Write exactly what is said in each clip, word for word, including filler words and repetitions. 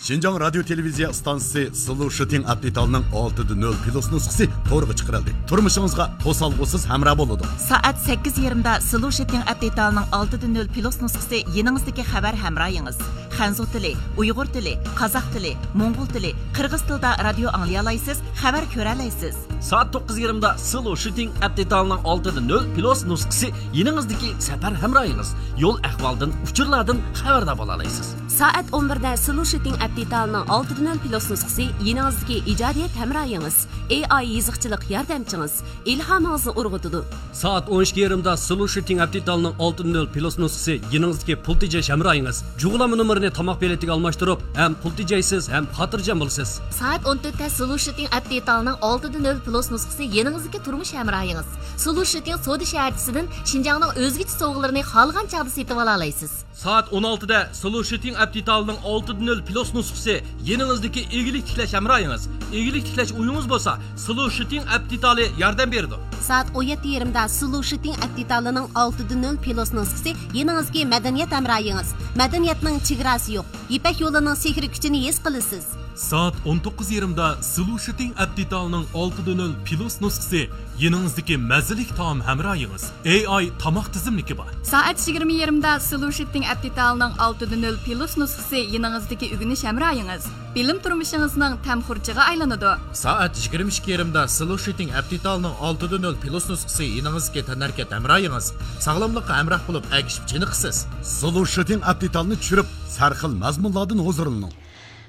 شىنجاڭ رادىيو تېلېۋىزىيە ئىستانسىسى سلۇشىتىڭ ئەپ دېتالىنىڭ ئالتە دە نۆل پلۇس نۇسخىسى تورغا چىقىرىلدى. تۇرمۇشىڭىزغا توسالغۇسىز ھەمراھ بولىدۇ. سائەت سەككىز يېرىمدا سلۇشىتىڭ ئەپ دېتالىنىڭ ئالتە دە نۆل پلۇس نۇسخىسى يېنىڭىزدىكى خەۋەر ھەمراھىڭىز. خەنزۇ تىلى، ئۇيغۇر تىلى، قازاق تىلى، موڭغۇل تىلى، قىرغىز تىلىدا رادىيو ئاڭلىيالايسىز، خەۋەر كۆرەلەيسىز. سائەت توققۇز يېرىمدا سلۇشىتىڭ ئەپ دېتالىنىڭ ئالتە دە نۆل پلۇس نۇسخىسى يېنىڭىزدىكى سەپەر ھەمراھىڭىز. يول ئەھۋالدىن، ئۇچۇرلاردىن خەۋەردار بولالايسىز. سائەت ئون بىردە سلۇشىتىڭ ئەپ دېتالىنىڭ ئالتە دە نۆل پلۇس نۇسخىسى يېنىڭىزدىكى ئىجادىيەت ھەمراھىڭىز، ئېي ئاي يېزىقچىلىق ياردەمچىڭىز، ئىلھامىڭىزنى ئۇرغۇتىدۇ. سائەت ئون ئىككى يېرىمدا سلۇشىتىڭ ئەپ دېتالىنىڭ ئالتە دە نۆل پلۇس نۇسخىسى يېنىڭىزدىكى پۇل تېجەش ھەمراھىڭىز. جۇغلانما نومۇرىنى تاماق بېلىتىگە ئالماشتۇرۇپ، ھەم پۇل تېجەيسىز، ھەم خاتىرجەم بولىسىز. سائەت ئون تۆتتە سلۇشىتىڭ ئەپ دېتالىنىڭ ئالتە دە نۆل پلۇس نۇسخىسى يېنىڭىزدىكى تۇرمۇش ھەمراھىڭىز. سلۇشىتىڭ سودا شەھەرچىسىدىن شىنجاڭنىڭ ئۆزگىچە سوۋغىلىرىنى خالىغان چاغدا سېتىۋالالايسىز. سائەت ئون ئالتىدە سلۇشىتىڭ ئەپ دېتالىنىڭ ئالتە دە نۆل پلۇس نۇسخىسى يېنىڭىزدىكى ئىگىلىك تىكلەش ھەمراھىڭىز. ئىگىلىك تىكلەش ئويىڭىز بولسا، سلۇشىتىڭ ئەپ دېتالى ياردەم بېرىدۇ. سائەت ئون يەتتە يېرىمدا سلۇشىتىڭ ئەپ دېتالىنىڭ ئالتە دە نۆل پلۇس نۇسخىسى يېنىڭىزدىكى مەدەنىيەت ھەمراھىڭىز. مەدەنىيەتنىڭ چېگراسى يوق. يىپەك يولىنىڭ سېھرىي كۈچىنى ھېس قىلىسىز. سائەت ئون توققۇز يېرىمدا سلۇشىتىڭ ئەپ دېتالىنىڭ ئالتە دە نۆل پلۇس نۇسخىسى يېنىڭىزدىكى مەززىلىك تائام ھەمراھىڭىز. ئېي ئاي تاماق تىزىملىكى بار. سائەت يىگىرمە يېرىمدا سلۇشىتىڭ ئەپ دېتالىنىڭ ئالتە دە نۆل پلۇس نۇسخىسى يېنىڭىزدىكى ئۆگىنىش ھەمراھىڭىز. بىلىم تۇرمۇشىڭىزنىڭ تەم خۇرجىغا ئايلىنىدۇ. سائەت يىگىرمە ئىككى يېرىمدا سلۇشىتىڭ ئەپ دېتالىنىڭ ئالتە دە نۆل پلۇس نۇسخىسى يېنىڭىزدىكى تەنھەرىكەت ھەمراھىڭىز. ساغلاملىققا ھەمراھ بولۇپ، ئەگىشىپ چېنىقىسىز. سلۇشىتىڭ ئەپ دېتالىنى چۈشۈرۈپ، سەرخىل مەزمۇنلاردىن ھۇزۇرلىنىڭ.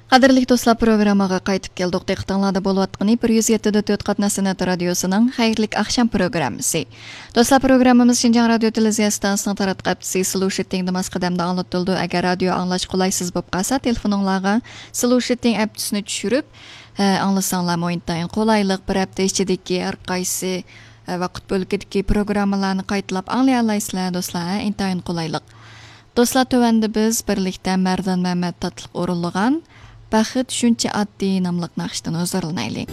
قەدىرلىك دوستلار، پروگرامماغا قايتىپ كەلدۇق. دىققىتىڭلاردا بولۇۋاتقىنى بىر يۈز يەتتە دە تۆت قاتناش سەنئەت رادىيوسىنىڭ خەيرلىك ئاخشام پروگراممىسى. دوستلار، پروگراممىمىز شىنجاڭ رادىيو تېلېۋىزىيە ئىستانسىسىنىڭ تاراتقۇ ھەپتىسى سلۇشىتىڭدا ماس قەدەمدە ئاڭلىتىلىدۇ. ئەگەر رادىيو ئاڭلاش قولايسىز بولۇپ قالسا، تېلېفونۇڭلارغا سلۇشىتىڭ ئەپتىسىنى چۈشۈرۈپ، ئە، ئاڭلىساڭلارمۇ ئىنتايىن قولايلىق. بىر ھەپتە ئىچىدىكى ھەر قايسى، ئە، ۋاقىت بۆلىكىدىكى پروگراممىلارنى قايتىلاپ ئاڭلىيالايسىلەر، دوستلار. ھە، ئىنتايىن قولايلىق. دوستلار، تۆۋەندە بىز بىرلىكتە مەردان مەمەت تاتلىق ئورۇنلىغان بەخت شۇنچە ئاددىي ناملىق ناخشىدىن ھۇزۇرلىنايلى.